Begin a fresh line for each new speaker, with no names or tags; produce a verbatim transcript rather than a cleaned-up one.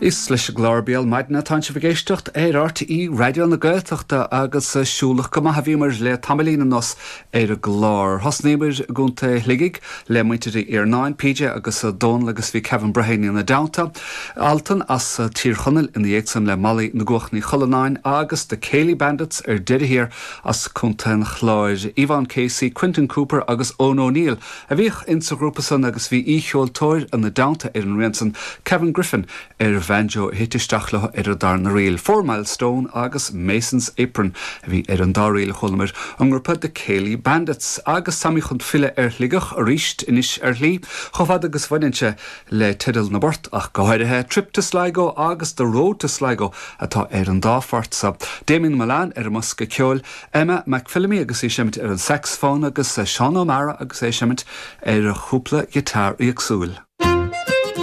Is leis an gclár Béal Maidine atá sibh ag éisteacht ar R T É Raidió na Gaeltachta agus siúlach go maith a bhíomar le tamaillín anuas ar an gclár. Thosnaíomar i gContae Shligigh le muintir Iarnáin, P J agus Dónal agus bhí Kevin Breheny ina dteannta. Altan as Tír Chonaill ina dhiaidh san le Molly na gCuach Ní Chollanáin agus The Céilí Bandits ar deireadh thiar as Contae an Chláir. Ivan Casey, Quentin Cooper agus Owen O'Neill a bhíodh insa ghrúpa san agus bhí aoicheoltóir ina dteannta ar an rian san, Kevin Griffin ar banjo, thit isteach leo ar an darna ríl. Four Milestone agus Mason's Apron a bhí ar an dá ríl a chualamar ón ngrúpa The Céilí Bandits agus táimid chun filleadh ar Shligeach arís anois ar shlí, chomh fada agus bhaineann sé le teideal na bport ach go háirithe Trip to Sligo agus The Road to Sligo atá ar an dá phort sa. Damien Milan ar an mbosca ceoil, Emma McPhillamy agus í ag seimint ar an saxophone agus Seán O'Mara agus é ag seimint ar chúpla giotár éagsúil.